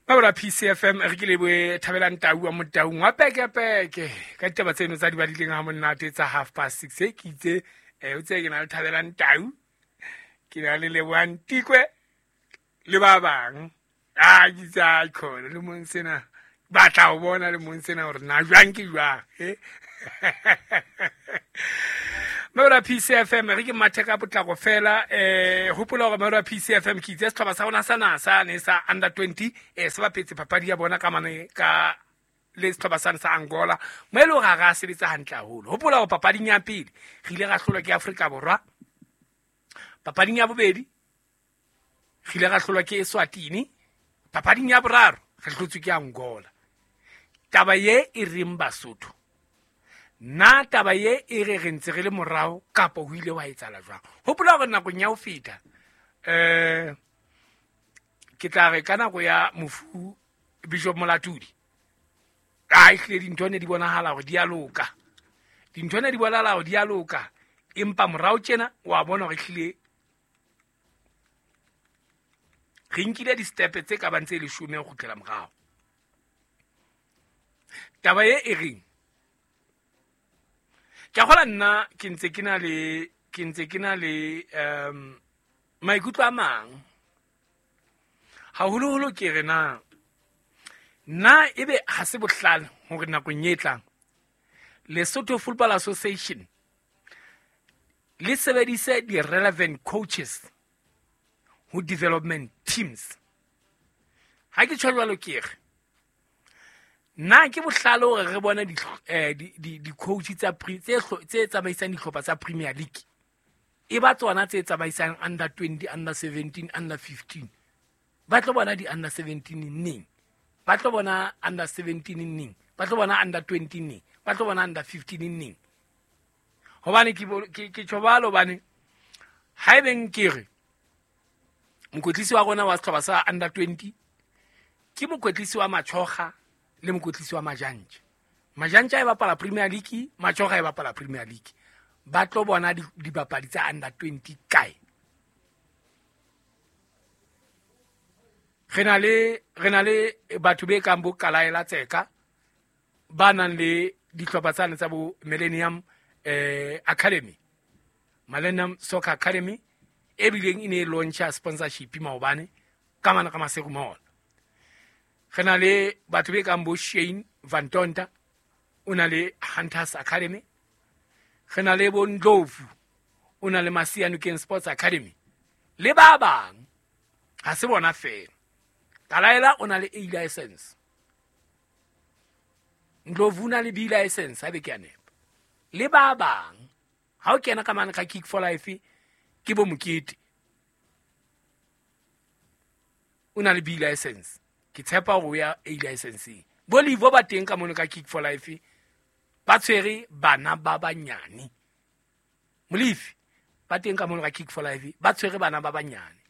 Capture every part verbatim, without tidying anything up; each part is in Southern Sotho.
Mabora P C F M re ke leboe Thabelang Tau wa Motaung wa pekepeke ka ditaba tseno tsa di badileng ha monate tsa half past six e ke itse eh o tse ke na le Thabelang Tau ke na le Lebohang Tikwe le ba bang a ke tsa khona le mong sena batla ho bona le mong sena hore na jwang ke jwang eh Mabora P C F M re ke mathe ka potlako fela eh hopola hore Mabora P C F M ke itse setlhopha sa rona sa NASA ne sa under twenty eh se bapetse papadi ya bona ka mane ka le setlhopha sa sa Angola mo e le hore ha sebetsa hantle haholo. Hopola hore papading ya pele re ile ra hlolwa ke Afrika Borwa, papading ya bobedi re ile ra hlolwa ke Eswatini, papading ya boraro re hlotswe ke Angola. Taba ye e reng Basotho, na taba ye e re re ntse re le morao kapa ho ile wa etsahala jwang? Hopola hore nakong ya ho feta eh ke tla re ka nako ya mofu Bishop Molatudi a ehlile dintho ne di bonahala hore di a loka, dintho ne di bonahala hore di a loka, empa morao tjena wa bona hore ehlile re nkile di-step tse ka bang tse leshome ho kgutlela morao. Taba ye e reng ke a kgola nna ke ntse ke na le ke ntse ke na le um maikutlo a mang haholoholo ke re na na ebe ha se bohlale hore nakong e tlang Lesotho Football Association le sebedise di-relevant coaches ho development teams. Ha ke tjho jwalo ke re na ke bohlale hore re bone di-coach tsa tse tse tsamaisang dihlopha tsa Premier League e ba tsona tse tsamaisang under twenty, under seventeen, under fifteen. Ba tlo bona di-under seventeen neng, ba tlo bona under seventeen neng, ba tlo bona under twenty neng, ba tlo bona under fifteen neng. Hobane ke ke tjho jwalo hobane haebeng ke re mokwetlisi wa rona wa sehlopha sa under twenty ke mokwetlisi wa Machoga le mokwetlisi wa Majantja. Majantja e bapala Premier League, Machoga e bapala Premier League. Ba tlo bona dibapadi tsa under twenty kae? Re na le re na le batho be kang bo Kalaela Tseka ba nang le dihlopha tsane tsa bo Millennium eh Academy, Millennium Soccer Academy e bileng e ne e launcha sponsorship maobane ka mana ka Maseru Mall. Re na le batho be kang bo Shane Van Tonta o na le Hunters Academy. Re na le bo Ndlovu o na le Masianokeng Sports Academy le ba bang. Ha se bona fela. Kalaela o na le A license, Ndlovu o na le B license ha be ke a nepa le ba bang. Ha o kena ka mane ka Kick for Life ke bo Mokete o na le B license, ke tshepa hore o ya A licenseng. Bo Livo ba teng ka mono ka Kick for Life ba tshwere bana ba banyane. Molefi ba teng ka mono ka Kick for Life ba tshwere bana ba banyane.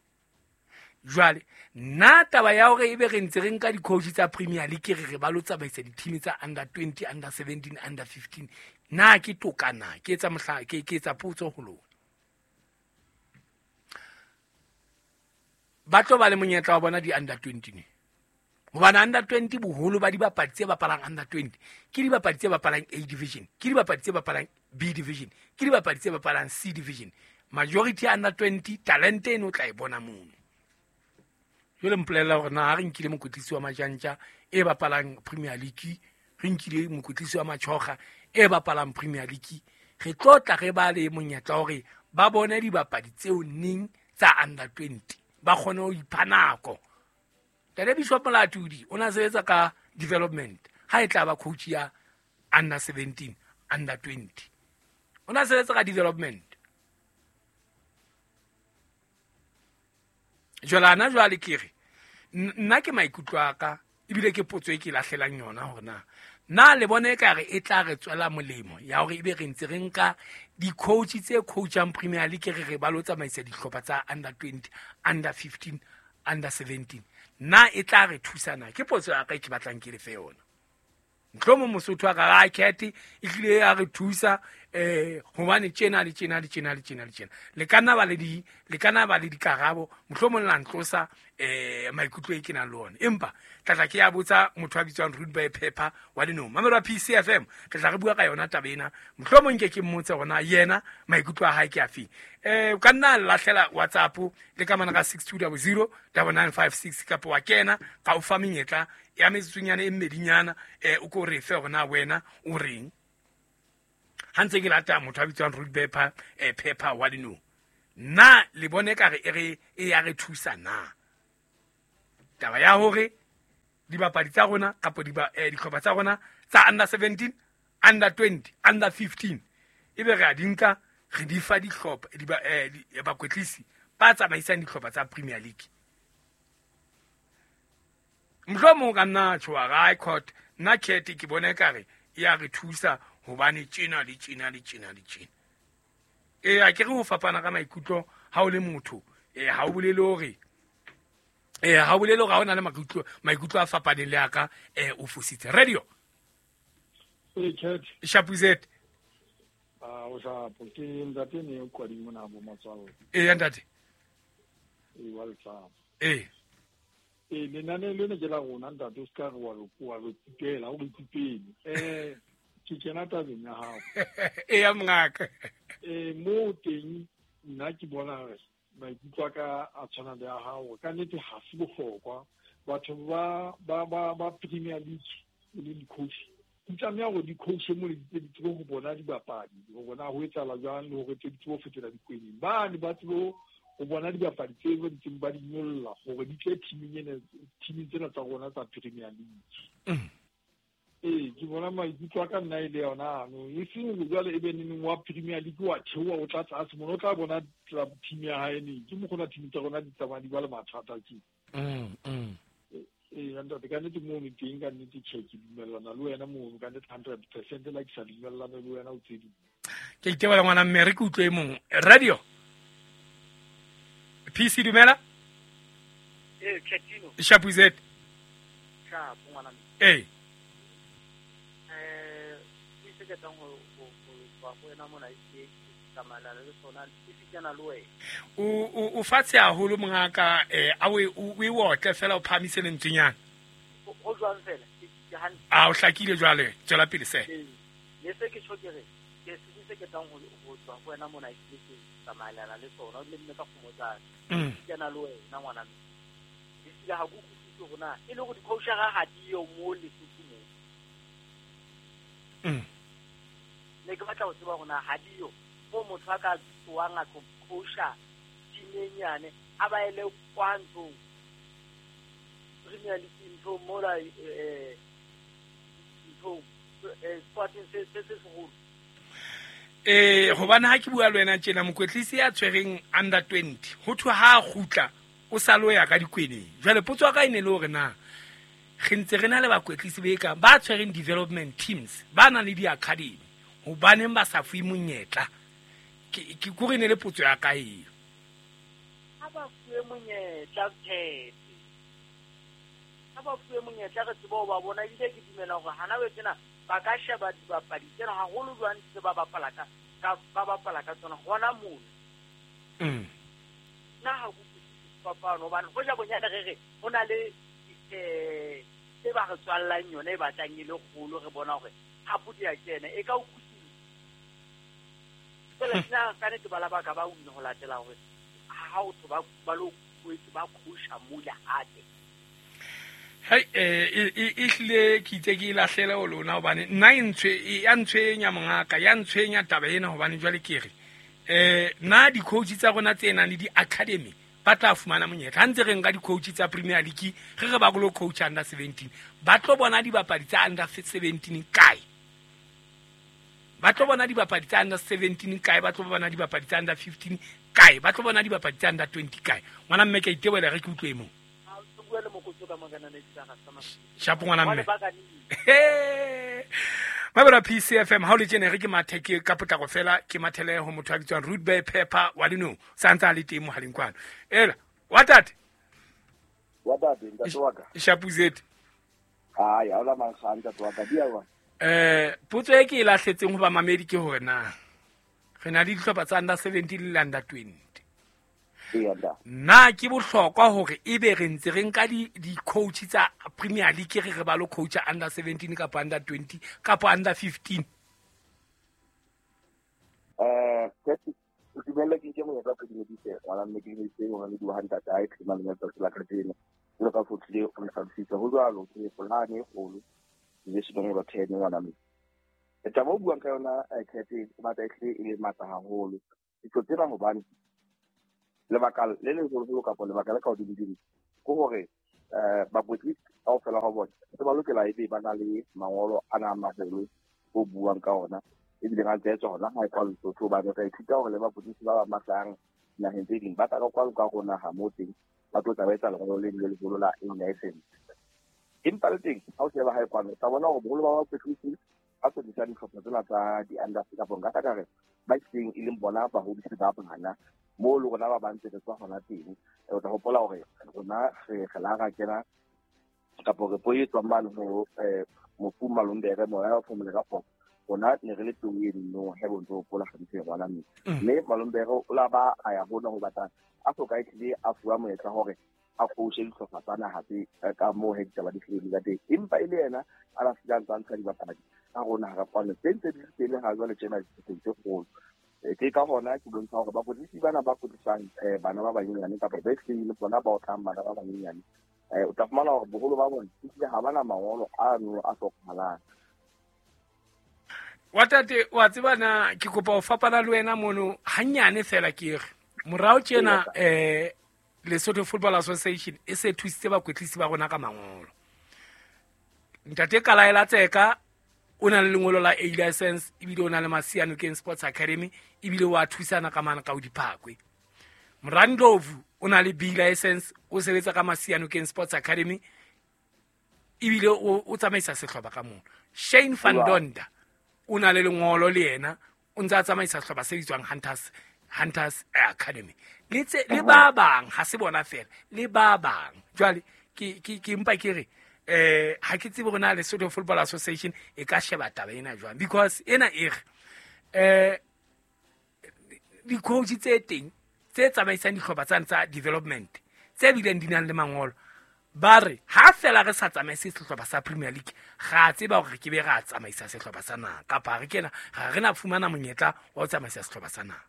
Jwale nna taba ya hore ebe re ntse re nka di-coach tsa Premier League re re ba lo tsamaisa di-team tsa under twenty, under seventeen, under fifteen, na ke toka na? Ke etsa mohla ke ke etsa potso ho lona. Ba tlo ba le monyetla wa bona di-under twenty ne. Hobane under twenty boholo ba dibapadi tse bapalang under twenty ke dibapadi tse bapalang A division, ke dibapadi tse bapalang B division, ke dibapadi tse bapalang C division. Majority ya under twenty talente eno o tla e bona mono. Jwale mpolella hore na ha re nkile mokwetlisi wa Majantja e bapalang Premier League, re nkile mokwetlisi wa Machoga e bapalang Premier League, re tlo tla re ba le monyetla hore ba bone dibapadi tseo neng tsa under twenty ba kgone ho ipha nako. Tate Bishop Molatudi o na sebetsa ka development ha e tla ba coach ya under seventeen, under twenty. O na sebetsa ka development. Jwale ana jwale ke re nna ke maikutlo a ka ebile ke potso e ke lahlelang yona hore na na le bone ekare e tla re tswela molemo ya hore ebe re ntse re nka di-coach tse coachang Premier League re re ba lo tsamaisa dihlopha tsa under twenty, under fifteen, under seventeen. Na e tla re thusana? Ke potso ya ka e ke batlang ke le fe yona. Ntlhomo Mosotho a ka ra khethe e hlile ya re thusa eh hobane tjena le tjena le tjena le tjena le tjena le ka nna ba le di le ka nna ba le dikarabo mohlomong la ntlosa eh maikutlo e ke nang le ona empa tlatla ke ya botsa motho a bitswang Rude Boy Pepper wa Lenong mamelo wa P C F M re tla re bua ka yona taba ena mohlomong ke ke mmotse hore yena maikutlo a hae ke afe eh o ka nna lahlela WhatsApp le ka mana ka six two zero zero nine nine five six kapa wa kena ka o fa menyetla ya metsotsonyana e mmedinyana eh o ko re fe hore na wena o reng ha ntse ke lata motho a bitswang Rude Boy Pepper eh Pepper wa Lenong na le bone ka re e re e ya re thusa na taba ya hore dibapadi tsa rona kapa dihlopha tsa rona tsa under seventeen under twenty under fifteen ebe re a di nka re di fa dihlopha di bakwetlisi ba tsamaisang dihlopha tsa Premier League mohlomong ka nna tjho high court nna khethe ke bone ka re e ya re thusa hobane tjena le tjena le tjena le tjena e a ke re ho fapana ka maikutlo ha o le motho e ha o bolele hore eh ha o bolele hore ha o na le maikutlo maikutlo a fapaneng le a ka eh o fositse radio e chat Shapuzet ah o sa ke ntate ne o kwadi mona bo matswalo e ntate e wa tsa e e lenane le ne ke la rona ntate o ska re wa re wa re tsipela o re tsipele eh ke kena tabeng ya hao e ya mongaka eh mo teng nna ke bona re maikutlo a ka a tshwana le a hao ka nnete ha se bohlokwa batho ba ba ba ba Premier League le di-coach di tlameha hore di-coach mo le di tsebe ho bona dibapadi ho bona ho etsahala jwang le hore tse di tsebe ho fetola dikwening bane ba tsebe ho bona dibapadi tse ba ntseng ba di nyolla hore di tle teaming ena teaming tsena tsa rona tsa Premier League. Ee ke bona maikutlo a ka nna e le yona ano e seng jwale e be neneng wa Premier League wa theoha o tla tlase mona o tla bona club team ya hae neng ke mokgona team tsa rona di tsamaya di ba le mathata ke mm mm ee ntate ka nnete mono teng ka nnete tjhe ke dumellana le wena mono ka nnete hundred percent la ke sa dumellane le wena o tse ding ke itebela ngwana mme re ke utlwe e mong radio P C dumela ee Chatino Shapuzet Shapo ngwana mme ee ke tlang ho ho ho wena mona ke tsamalana le sona ke fitana le wena o o fatshe haholo mongaka eh a o o otle fela o phamise lentswenyana ho jwang fela ke hantle a o hlakile jwale tswela pele se le se ke tjho ke re ke se se ke tlang ho ho tswa ho wena mona ke tsamaelana le sona le mme ka kgomotsana fitana le wena ngwana mme ke sila ha go kutlwisise hore na e le hore di-coachara ha di yo mo Lesotho mo mm ne ke batla ho tseba hore na ha di yo mo motho a ka tsoang a tlo coacha team e nyane a ba ele kwa nthong Premier League nthong mola eh nthong eh sporting se se se seholo eh hobane ha ke bua le wena tjena mokwetlisi ya tshwereng under twenty ho thwe ha a kgutla o sa lo ya ka dikweneng jwale potso ya ka e ne le hore na re ntse re na le bakwetlisi be ka ba tshwereng development teams ba nang le di-academy hobaneng ba sa fuwe monyetla ke ke kore ne le potso ya ka eo ha ba fuwe monyetla tshete ha ba fuwe monyetla re tsebe ho ba bona ebile ke dumela hore hana we tsena ba ka sheba dibapadi tsena haholo jwang tse ba bapala ka ba bapala ka tsona hona mona mm nna ha go kutlwisise fapano hobane hoja bonyane re re ho na le eh tse ba re tswallang yona e batlang e le kgolo re bona hore hapo di a kena e ka o fela nna ka nnete bala ba ka ba wina ho latela hore ha o tho ba ba lo boetse ba coacha mole hape hai eh e hlile ke itse ke lahlele ho lona hobane nna e ntshwe ya ntshwenya mongaka ya ntshwenya taba ena hobane jwale ke re eh nna di-coach tsa rona tse nang le di-academy ba tla fumana monyetla ha ntse re nka di-coach tsa Premier League re re ba lo coach under seventeen ba tlo bona dibapadi tsa under seventeen kae ba tlo bona dibapadi tsa under seventeen kae ba tlo bona dibapadi tsa under fifteen kae ba tlo bona dibapadi tsa under twenty kae ngwana mme ke itebela re ke utlwe mo shapo ngwana mme mabela P C F M ha o le tjena re ke mathe ke ka potlako fela ke mathele ho motho a bitswang Rude Boy Pepper wa Lenong sa ntse a le teng mohaleng kwano ela wa tate wa tate ntate wa ka Shapuzet ai ha ola mankga ntate wa ka dia wa eh potso e ke e lahletseng ho ba mamedi ke hore na Re na le dihlopha tsa under seventeen le under twenty. Na ke bohlokwa hore ebe re ntse re nka di di-coach tsa Premier League re re ba lo coacha under seventeen kapa under twenty kapa under fifteen? Eh, ke dumela ke nke monyetla ke dumedise ngwana mme ke dumedise ngwana le dua ntate a e phema le tsatsi la kajeno. Jwalo ka fotlile o ntlhalositse ho jwalo ke polane e kgolo division number ten ngwana mme. Taba o buang ka yona khethe e batla e hlile e le matla haholo. Ditho tsena hobane lebaka le leholo kapa lebaka le ka hodimo-dimo ke hore eh bakwetlisi kaofela ha bona se ba lokela ebe ba na le mangolo ana a maholo o buang ka ona ebile ga ntse tswa hona ha e kwa Lesotho hobane re ithuta hore le bakwetlisi ba ba matlang naheng tse ding ba tla ka kwano ka rona ha mo teng ba tlo tla ba etsa lengolo le le leholo la A license. Empa le teng ha o sheba ha e kwano tla bona hore boholo ba bakwetlisi ba sebedisa dihlopha tsena tsa di-under kapa nka tla ka re ba itseng e leng bona bahodisi ba bana mo le rona ba bantse re tswa hona teng. O tla hopola hore rona re re la ra kena kapa re po e tswang mane ho mofu Malombere moya wa phomole ka kgotso. Rona ne re le teng eno he bo ntse hopola hantle ngwana mme mme Malombere o la ba a ya hona ho batla a soka e tlile a fuwa monyetla hore a coache dihlopha tsa naha tse ka moo he ditaba di hlile ka teng, empa e le yena a la fihla ntse a ntsha dibapadi ka rona ha re kwane tse ntse di tele ha jwale tjena di tse kgolo. Ke ka hona ke bontsha hore bakwetlisi bana ba kwetlisang bana ba banyenyane kapa ba hlile bona ba otlang bana ba banyenyane o tla fumana hore boholo ba bona ehlile ha bana mangolo ano a hlokahalang. Wa tate wa tseba na ke kopa ho fapana le wena mono hanyane fela ke re morao tjena eh Lesotho Football Association e se thusitse bakwetlisi ba rona ka mangolo. Ntate Kalaela Tseka o na le lengolo la A license ebile o na le Masianokeng Sports Academy ebile wa thusana ka mana ka o diphakwe. Morandlovu o na le B license o sebetsa ka Masianokeng Sports Academy ebile o o tsamaisa sehlopha ka mono. Shane van Donda o na le lengolo le yena o ntse a tsamaisa sehlopha se bitswang Hunters Hunters Academy. Le tse le ba bang ha se bona fela le ba bang. Jwale ke ke ke mpa ke re eh ha ke tsebe hore na Lesotho Football Association e ka sheba taba ena jwang, because ena e re eh di-coach tse teng tse tsamaisang dihlopha tsane tsa development tse bileng di nang le mangolo ba re ha fela re sa tsamaise sehlopha sa Premier League ga tseba hore ke be ra tsamaisa sehlopha sa naha kapa re kena ga re na fumana monyetla wa ho tsamaisa sehlopha sa naha.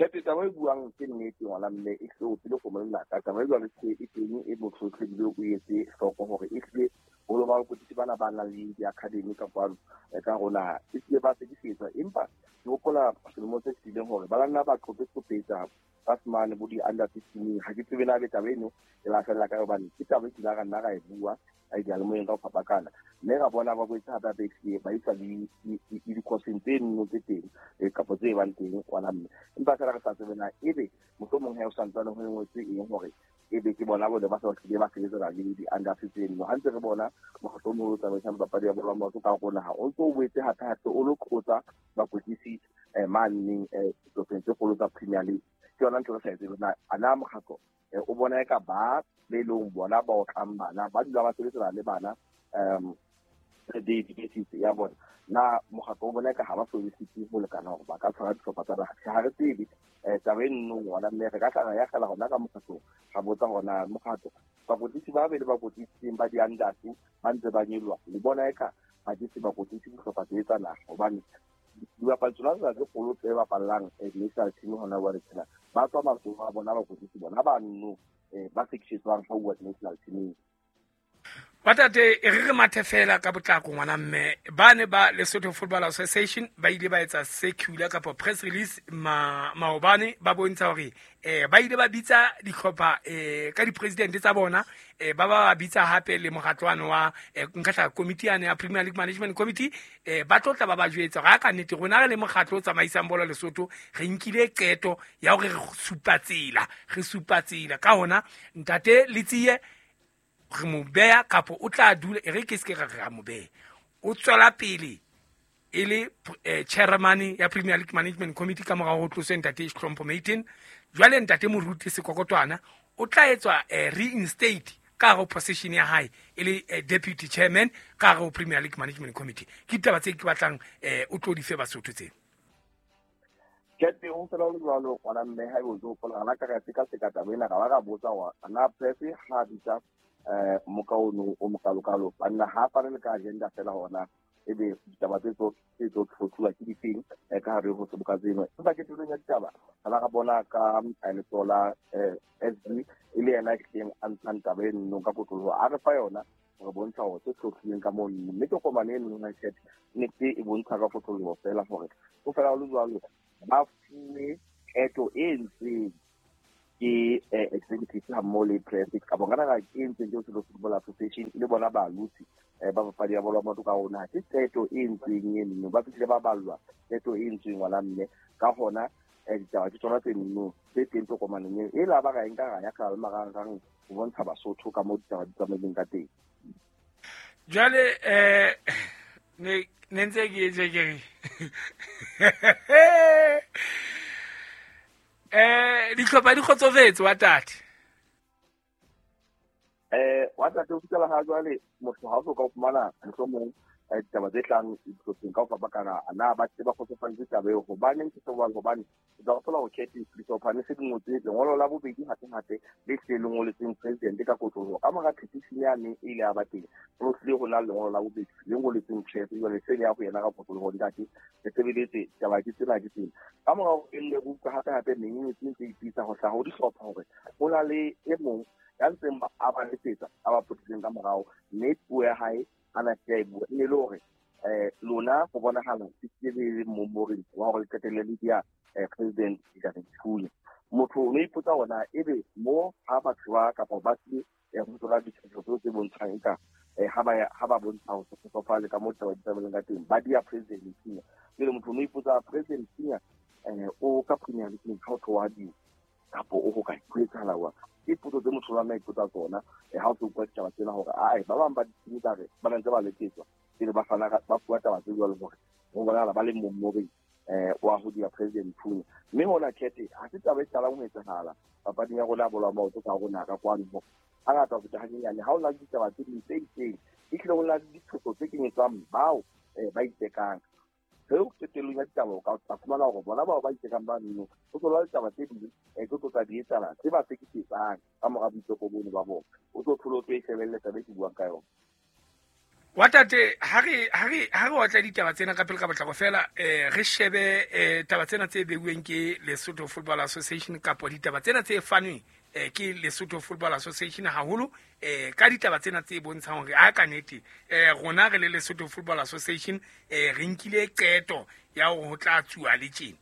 Kepe taba e buang ke nnete ngwana mme e hle o pele go molla ka taba e jwalo ke e teng e botlhotlhe ebile o etse hloko hore e hlile boholo ba bakwetlisi bana ba nang le di-academy ka kwano ka rona e hlile ba sekisetswa. Empa ke hopola selemo se fetileng hore ba nna ba qopetsa ba fumane bo di-under fifteen. Ha ke tsebe na be taba eno e la fella ka hobane ke taba e kile ra nna ra e bua a diyalemoyeng ka ho fapakana mme ra bona ba boetse hape hape ehlile ba isa le di-courseng tse nno tse teng kapa tse bang teng kwana mme empa fela re sa tsebe na ebe mohlomong he o santsane ho ngotswe eng hore ebe ke bona bone ba sa hlile ba sebetsana le di-under fifteen. Ha ntse re bona mokgatlo o moholo o tsamaisang papadi ya bolo ya maoto ka rona ha o ntso o boetse hape hape o lo qotsa bakwetlisi maneng dihlopheng tse kgolo tsa Premier League. Ke yona ntho re sa e tsebe na a na mokgatlo o bona eka ba be leng bona ba otlang bana ba dula ba sebetsana le bana um daily basis ya bona na mokgatlo o bona eka ha ba sebedisitse ho lekana hore ba ka tshwara dihlopha tsa naha. Ha re tsebe taba e nno ngwana mme re ka tla ra ya kgela hona ka mokgatlong ra botsa hore mokgatlo bakwetlisi ba be le bakwetlisi ba di-unders ba ntse ba nyoloha le bona eka ba ke se bakwetlisi dihlopha tse tsa naha hobane dibapadi tsona tsena tse kgolo tse bapallang national team hona jwale tjena ba tswa matsoho a bona bakwetlisi bona ba nno ba sekisetswang ha uwa national teaming. Batate e re re mathe fela ka potlako ngwana mme ba ne ba Lesotho Football Association ba ile ba etsa circular kapa press release ma maobane ba bontsha hore eh ba ile ba bitsa dihlopha eh ka di-president tsa bona eh ba ba bitsa hape le mokgatlwana wa nka tla committee ya ya Premier League Management Committee eh ba tlotla ba ba jwetsa ga ka nnete rona re le mokgatlo o tsamaisang bolo Lesotho re nkile qeto ya hore re supa tsela re supa tsela ka hona ntate Letsie re mo beha kapa o tla dula e re ke se ke ra re mo beha o tswela pele e le chairman ya Premier League Management Committee ka morao ho tloswe ntate Hlompho Maiten. Jwale ntate Moruti Sekokotwana o tla etswa reinstate ka hare ho position ya hae e le deputy chairman ka hare ho Premier League Management Committee. Ke ditaba tse ke batlang o tlo di fe Basotho tse. Ke ho fela ho le jwalo ngwana mme ha ebe o tlo hopola rona ka re sekaseka taba ena, ra ba ra botsa hore ana press ha bitsa eh moka ono o mokalokalo banna ha fane le ka agenda fela hona ebe ditaba tse tso tse tso tlhotlhuwa ke difeng ka hare ho seboka tseno. Empa ke tulong ya ditaba ra ra bona ka letsoho la S D e le yena e a ntshang taba eno ka kotloloho, a re fa yona re bontsha hore tse tlhotlhileng ka mono, mme tokomane eno ya chat nnete e bontsha ka kotloloho fela hore ho fela ho le jwalo ba fuwe qeto e entsweng ke executive ha mmoho le press kapa nka nahana ke entsweng ke Lesotho Football Association le bona balotsi ba papadi ya bolo ya maoto ka rona. Ke qeto e entsweng eno, ba fihlile ba ballwa qeto e entsweng ngwana mme ka hona ditaba ke tsona tse nno tse teng tokomaneng eo e la ba ra e nka ra ya ka le marangrang ho bontsha Basotho ka moo ditaba di tsamaileng ka teng. Jwale eh ne ne ntse ke etse ke re eh dihlopha di kgotsofetse wa tate. Eh wa tate o fihlela ha jwale motho ha o so ka fumana mohlomong ditaba tse tlang dihlopheng ka ho fapakana, na ba tle ba kgotsofaditse taba eo. Hobaneng ke se jwalo? Hobane o tla hopola hore khethe dihlopha ne se di ngotse lengolo la bobedi hape-hape le hlile le ngoletseng president ka kotloloho ka mora petition yane e ile ya ba teng, ho hlile ho na le lengolo la bobedi le ngoletseng press jwale se le ya ho yena ka kotloloho ntate re sebeletse taba ke tsena ke tsena. Ka mora hore e nne re utlwa hape-hape menyenyetsi e ntse e ipitsa ho hlaha ho dihlopha hore ho na le e mong ya ntseng a ba letsetsa a ba potileng ka morao, mme puo ya hae ana ke a e bua e ne le hore eh lona ho bonahala ke le momoreng wa hore le qetelle le dia president Ntate Thunya. Motho o no ipotsa hore ebe mo ha batho ba kapa ba se ho tswa ditshwantsho tse bontshang eka ha ba ha ba bontsha ho se kgotsofale ka moo taba di tsamaileng ka teng ba dia president Thunya. Jwale motho o no ipotsa president Thunya eh o ka Premier League ha o tloha di kapa o ho ka ho etsahala wa ke potso tse motho wa nna ipotsa tsona ha o tlo utlwa ditaba tsena hore ae ba bang ba ditimi tsa re ba ntse ba letsetswa pele ba fana ba fuwa taba tse jwalo hore ho bonahala ba le momoreng eh wa ho dia president Thunya. Mme hona khethe ha se taba e qalang ho etsahala papading ya rona ya bolo ya maoto ka rona ka kwano hore hangata ho feta hanyenyane ha o na le ditaba tse ding tse itseng e hlile ho na le ditshoso tse kenyetswang bao ba itekang. Seo qetellong ya ditaba o ka tla fumana hore bona bao ba itekang ba nno ho tlola ditaba tse ding tse tlo tla di etsahala tse ba sekisetsang ka mora boiteko bono ba bona, o tlo thola o tlo e shebelle taba e ke buang ka yona. Wa tate ha re ha re ha re otla ditaba tsena ka pele ka potlako fela eh re shebe eh taba tsena tse beuweng ke Lesotho Football Association kapo ditaba tsena tse fanweng eh ke Lesotho Football Association haholo eh ka ditaba tsena tse bontshang hore a ka nete eh rona re le Lesotho Football Association eh re nkile qeto ya hore ho tla tsuwa le tjena.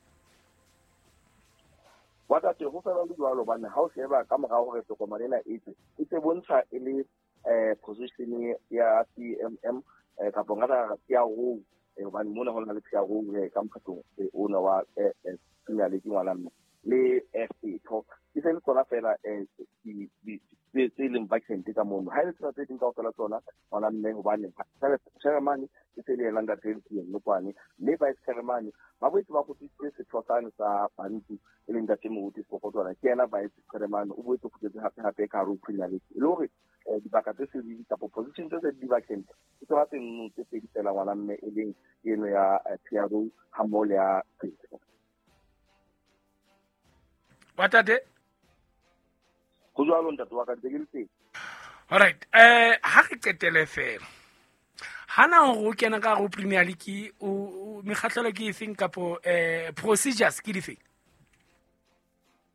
Wa tate ho fela le jwalo hobane ha o sheba ka mora hore tokomane ena e tswe e se bontsha e le eh position ya C M M eh kapa nka P R O eh hobane mona ho na le P R O ka mokgatlong ona wa Premier League ngwana mme le F A tho ke se le tsona fela eh di tse leng vacant ka mono ha le tsona tse ding kaofela tsona ngwana mme hobane chairman e se le yena ntate Nokwane mme vice chairman ba boetse ba kgutlisitse setho sane sa Bantu e leng ntate Moruti Sekgotwana ke yena vice chairman o boetse o kgutletse hape hape ka hare ho Premier League e le hore dibaka tse se di kapa position tse se di vacant ke tsona tse nno tse pedi fela ngwana mme e leng eno ya P R O ha mmoho le ya wa tate ho jwalo ntate wa ka ntse ke le teng. All right eh ha re qetele fela hana hore o kena ka ho Premier League o mekgahlelo ke efeng kapo eh procedures ke difeng?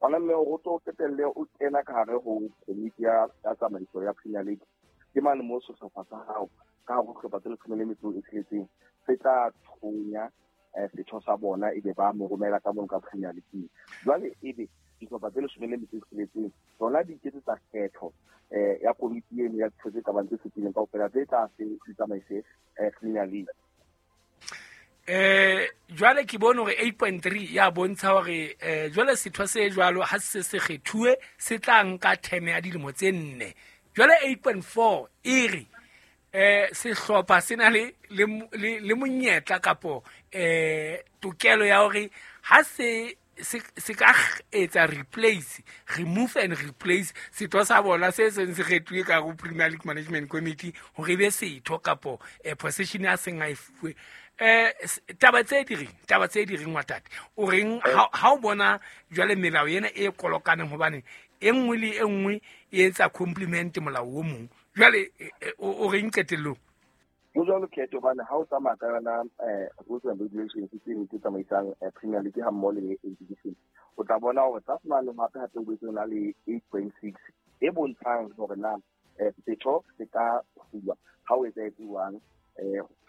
Ngwana mme o tlo qetelle o kena ka hare ho komiti ya tsamaiso ya Premier League ke mane mo sehlopha sa hao ka hare ho sehlopha tse leshome le metso e tsheletseng se tla thonya setho sa bona ebe ba mo romela ka mono ka Premier League. Jwale ebe dihlopha tse leshome le metso e tsheletseng tsona di iketsetsa kgetho eh ya komiti eno ya ditho tse ka bang tse supileng kaofela tse tla se di tsamaise Premier League. Eh jwale ke bone hore eight point three ya bontsha hore eh jwale setho se jwalo ha se se kgethuwe se tla nka term ya dilemo tse nne. Jwale eight point four e re eh sehlopha se na le le monyetla kapo eh tokelo ya hore ha se se ka etsa replace, remove and replace setho sa bona se seng se kgethuwe ka go Premier League Management Committee hore e be setho kapo position ya seng a e fuwe. Eh taba tse di reng, taba tse di reng wa tate o reng ha o bona jwale melao ena e kolokaneng hobane e nngwe le e nngwe e etsa compliment molao o mong, jwale o reng qetellong? Ho jwalo Khetho, hobane ha o tsamaya ka yona rules and regulations tse tse tsamaisang Premier League ha mmoho le A division, o tla bona hore tlase mane hape hape o boetse o na le eight point six e bontshang hore na setho se ka hulwa ha o etsahetse jwang.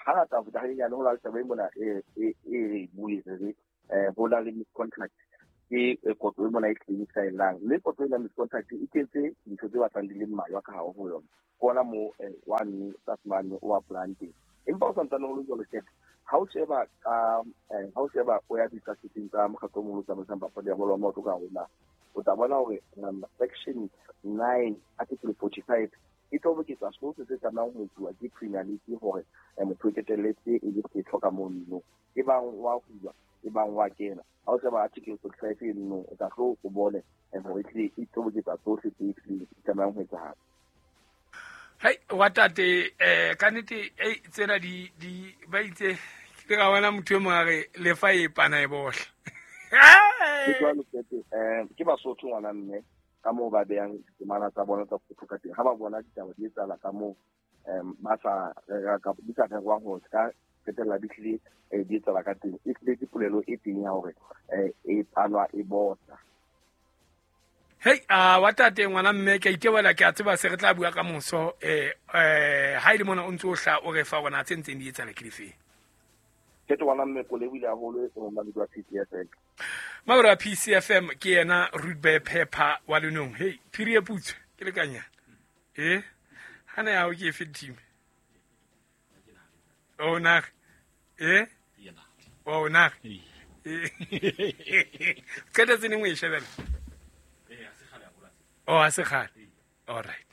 Hangata ho feta hanyenyane ho na le taba e mona e re bue re re ho na le misconduct ke kotlo e mona e tlileng saelang, mme kotlo ena misconduct e kentse dintho tse batlang di le mmalwa ka hare ho yona. Kona mo one tlase mane o apply-ang teng. Empa o santsane ho le jwalo Khetho, ha o sheba ka ha o sheba o ya ditlhasetseng tsa mokgatlo o moholo o tsamaisang papadi ya bolo ya maoto ka hare ho naha, o tla bona hore section nine article forty-five e toboketsa sohle se tlamehang ho etsuwa ke Premier League hore motho o qetelletse e le setho ka mono, e bang wa hulwa, e bang wa kena. Ha o sheba article forty-five eno, o tla tlo o bone hore ehlile e toboketsa tsohle tse hlileng di tlamehang ho etsahala. Hai wa tate eh ka nnete ei tsena di di ba itse ke ka bona motho e mong a re lefa e pana e bohla. Ke jwalo Khetho, eh ke Basotho ngwana mme ka moo ba behang ditemana tsa bona tsa Sesotho ka teng. Ha ba bona ditaba di etsahala ka moo ba sa rera kapa di sa rerwang hore ka qetella di hlile di etsahala ka teng, e hlile ke polelo e teng ya hore e panwa e bohla. Hey, a wa tate ngwana mme ke itebela ke a tseba se re tla bua ka moso eh eh ha ile mona o ntse o hla o re fa rona tse ntseng di etsahala ke dife. Ke ngwana mme ko lebile haholo e mona le P C F M. Mabra P C F M ke yena Rudbe Pepper wa Lenong. Hey, phiri e putswe ke lekanya. Eh? Hana ya o ke fe team. Oh na. Eh? Oh na. Qeta tse nngwe e shebela. Oh, a se kgale. All right.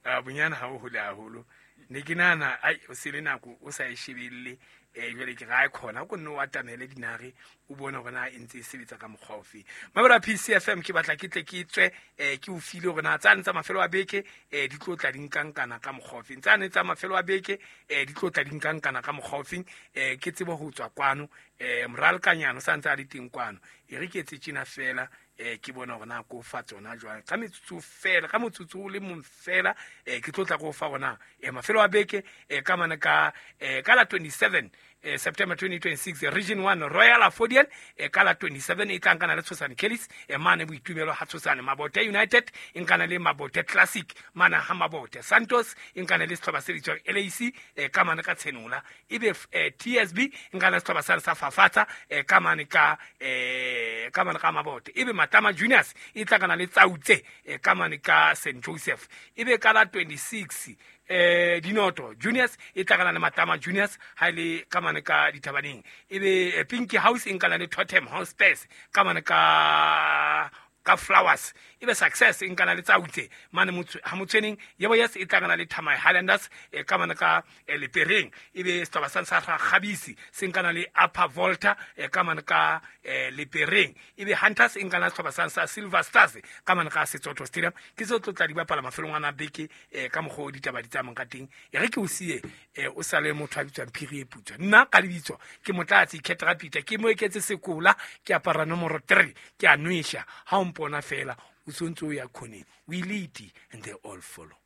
A bonyana ha o hole haholo. Ne ke nahana ai o se le nako o sa e shebelle eh jwale ke ra e khona ko nne o atamele dinare o bone hore na e ntse e sebetsa ka mokgwa ofe. Mabra P C F M ke batla ke tle ke tswe eh ke o file hore na tsane tsa mafelo a beke eh di tlo tla di nkankana ka mokgwa ofe. Tsane tsa mafelo a beke eh di tlo tla di nkankana ka mokgwa ofe eh ke tsebe ho tswa kwano eh moralkanyana o sa ntse a le teng kwano. E re ke etse tjena fela eh ke bona hore na ko fa tsona jwang ka metsotso fela ka motsotso o le mong fela eh ke tlo tla go fa rona eh mafelo a beke eh ka mane ka eh ka la twenty-seven eh September twenty twenty-six Region one Royal Afodian eh ka la twenty-seven e tla nkana le Tshosane Kellis eh mane boitumelo ha Tshosane. Mabote United e nkana le Mabote Classic mane ha Mabote. Santos e nkana le sehlopha se bitswang L A C eh ka mane ka Tshenola. Ebe eh, T S B e nkana le sehlopha sa sa Fafatsa eh ka mane ka eh ka mane ka Mabote. Ebe Matama Juniors e tla kana le Tsautse eh ka mane ka Saint Joseph. Ebe ka la twenty-six eh Dinoto Juniors e tla kana le Matama Juniors ha ile ka mane ka Dithabaneng. Ebe Pinky House e nkana le Totem House Space ka mane ka ka Flowers. Ebe Success e nkana le Tsautse mane motho ha motshweneng. Yebo yes e tla kana le Thamai Highlanders e ka mane ka Lepereng. Ebe setaba sa sa Khabisi se nkana le Upper Volta e ka mane ka Lepereng. Ebe Hunters e nkana setaba sa sa Silver Stars ka mane ka Setsotho Stadium. Ke se tlo tla di bapala mafelong ana beke ka mokgwa o ditaba di tsamayang ka teng. E re ke o siye o sale motho a bitswang Phiri e Putswa. Nna ka lebitso ke Motlatsi Khetra Peter, ke mo eketse sekola, ke apara nomoro three, ke a nwesha ha o mpona fela o sontse o ya khoneng. We lead and they all follow.